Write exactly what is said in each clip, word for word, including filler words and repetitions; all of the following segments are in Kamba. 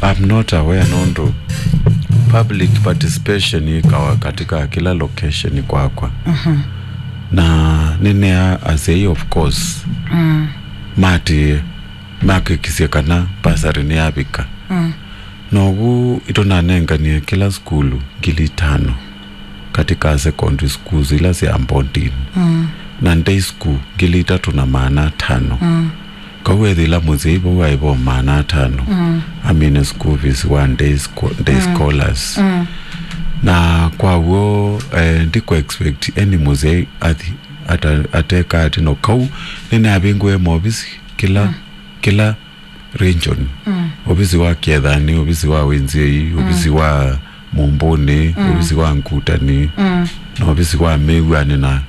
I'm not aware nũndũ public participation ĩkawa katika kila location kwakwa. Mhm. Na nĩnea asyai, of course, mm, mati makĩkisye kana bursary nĩyavika. Mm. Nogu ĩtũnanenganie kĩla sukulu ngili itano katika secondary schools ila sya boarding. Mm. Na day school ngili itatũ na maana atano. Mm. Kau ethĩla mũsyai vau aĩ vo maana atano, mm, amine school fees wa day scho-, day, mm, scholars. Mm. Na kwa w'o, eh, ndikũ expect any mũsyai athi ata-, ateka atĩ no kau nĩnavingũe maovisi kĩla, mm, kĩla region. Mm. Ovisi wa Kĩethani, ovisi wa Wĩnzĩi, mm, ovisi wa Mũmbũnĩ, mm, ovisi wa Ngutani, mm, na ovisi wa Mĩw'anĩ, na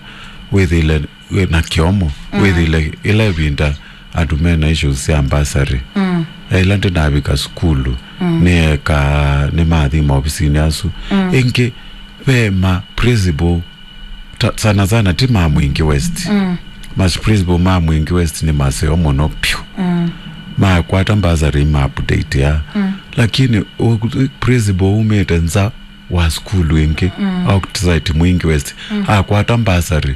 wĩthĩle wĩ na kĩomo, mm, wĩthĩle ĩla ĩvinda andũ mena issues sya bursary. Mm. Ĩla ndĩnavika sukulu, mm, nĩeka, nĩmathi maovisinĩ asu. Mm. Ĩngĩ, ve ma principal, ta-, sana sana ti ma Mwingi West. Mm. Ma principal ma Mwingi West nĩ maseo mũno piũ. Mm. Makwata bursary ma update ya. Mm. Lakini u-, principal umĩte nza wa sukulu ĩngĩ, mm, outside Mwingi West, mm, akwata bursary,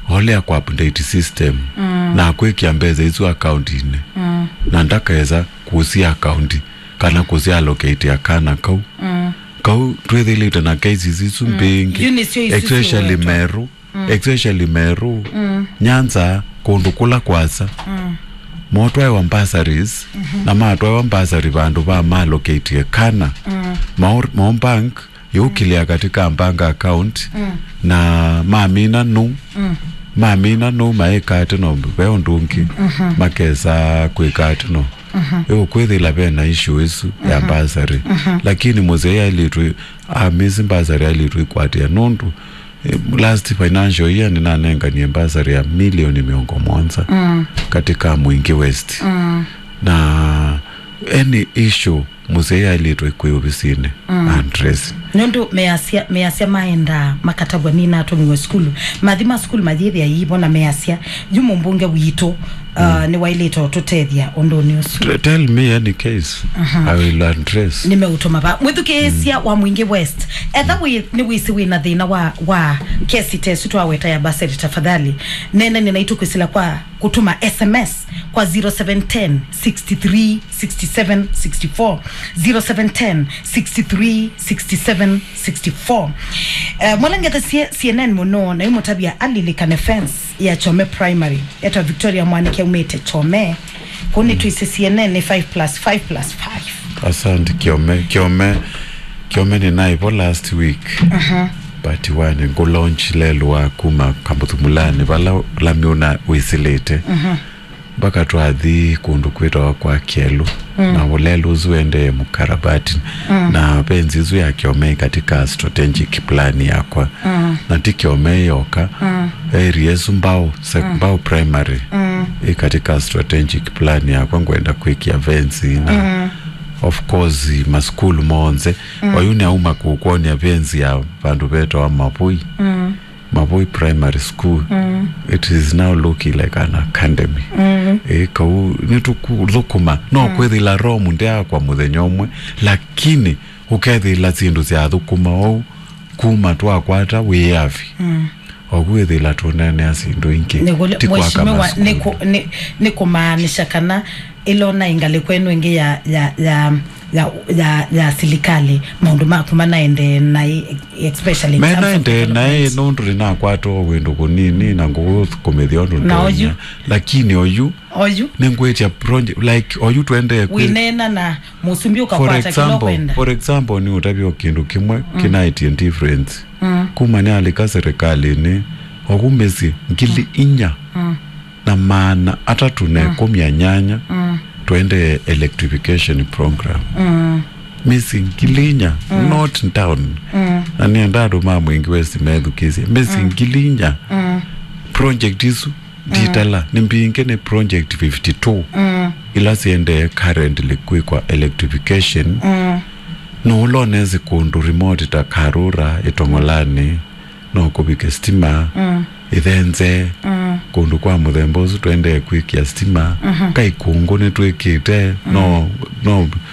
olea kwa update system, mm, na kwĩkĩa mbesa isu akauntinĩ, mm, na ndakesa kũsia akaunti kana kũsi allocate kana kau. Mm. Kau twĩthĩlĩte na cases isu, mm, mbingĩ, yu nĩsyo isu especially siwetwa. Meru, mm, especially Meru, mm, Nyanza, kũndũ kũla kwasa. Mm. Motwaĩwa bursaries, mhm, na matwaĩwa bursary vandũ va ma allocate kana. Mm. Mao, mao bank yũkĩlĩa katika bank account, mm, na mamina nũ, mm, mamina nũ maĩka atĩ no ve ũndũ ũngĩ, mhm, makesa kwĩka atĩ no. Mhm. Ĩũkwĩthĩla vena issue ĩsu ya, mhm, bursary. Mhm. Lakini mũsyai ailĩtwe, amisi bursary ailĩtwe ĩkwatĩa nũndũ, eh, last financial year nĩnanenganie bursary ya milioni mĩongo mũonza, mm, katika Mwingi West. Mm. Na any issue mũsyai ailĩtwe kwĩ ovisinĩ, mm, address. Nũndũ measya, measya maendaa makatavw'a nĩnatũmiwe sukulu. Mathi ma sukulu mayĩthĩa iivo na measya, yu mũmbunge witũ, uh, mm, nĩwailĩte ũtũtethya ũndũnĩ ũsu. T-, tell me any case. Mhm. I will address. Nĩmeũtũma va. Mwĩthukĩĩsya, mm, wa Mwingi West. Etha wĩ, nĩwĩsĩ wĩna thĩna wa, wa kesi ta ĩsu twaweta ya bursary, tafadhali neenanie naitũ kwĩsĩla kwa kũtũma S M S kwa zero seven ten, sixty three, sixty seven, sixty four, zero seven ten, sixty three, sixty seven, sixty four. Eh, mwalangetha C-, C N N mũno, na imũtavya alilikane fence ya Chome Primary. Etwa Victoria Mwanike, umĩte Chome. Kũu nĩ twĩsĩ C N N nĩ five plus five plus five. Asante, Kiome. Kiome, Kiome nĩnaĩ vo last week. Aha. But one, ngũ launch lelũ wa kuma Kamũthumũlanĩ, vala lami ũna wĩsĩlĩte. Mhm. Mpaka twathi kũndũ kwĩtawa kwa Kyelu. Mm. Na ũlelu ũsu wendee mũkarabati. Mm. Na fence ĩsu ya Kiome katika strategic plan yakwa. Mm. Na ti Kiome yoka. Mm. Area ĩsu Mbao sec-, mm, Mbao Primary, mm, ĩ katika strategic plan yakwa, ngwenda kwĩkĩa fence na, mm, of course, masukulu monthe. Mm. Oyu nĩauma kũkwony'a fence ya vandũ vetawa Mavui. Mm. Mavui Primary School. Mm. It is now looking like an academy. Mm. Ĩ, kau nĩtũkũthũkũma. No, mm, kwĩthĩla Rome ndĩakwa mũthenya ũmwe, lakini ũkethĩla syĩndũ syathũkũma ou kuma twakwata wĩyavi. Mm. Oku wĩthĩla tũneenea syĩndũ ingĩ, nĩkũlĩ, ti kwaka mheshimiwa, masukulu. Nĩkũ-, nĩ, nĩkũmaanisha kana ĩla ũnaĩ ngalĩko ĩno ĩngĩ ya, ya, ya, ya, ya, ya silikalĩ, maũndũ maku manaendee naĩ, especially in terms of development? Menaendee naĩ nũndũ nĩnakwata o wĩndũ kũnini na ngũkũmĩthya ũndũ, na ndonya. Oyu? Lakini oyu, oyu? Nĩngwĩtya project, like, oyu twendee kwĩ-, wĩneena na mũsumbĩ, for ũkakwata kĩla example, ũkwenda. For example, nĩ ũtavya o kĩndũ kĩmwe, mm, kĩnaĩtye difference. Mm. Kuma nĩalika serikalĩnĩ, oku mĩsyĩ ngili inya. Mm. Na maana atatũ na, mm, ĩkũmi na nyanya, mm, twendee electrification program. Mm. Mĩsyĩ ngili inya, mm, not town. Mm. Na nĩenda andũ ma Mwingi West methukĩĩsye. Mĩsyĩ, mm, ngili inya. Mm. Project isu, mm, nditala, nĩ mbingĩ, nĩ project fifty-two, mm, ila siendee currently kwĩkwa electrification. Mm. No ũla ũnesi kũndũ remote ta Karura, Itong'olani, no kũvike stima, mm, Ithenze, mm, kũndũ kwa mũthemba ũsu twendee kwĩkĩa stima. Mhm. Kaikũngũ nĩtwĩkĩte, mm, no, no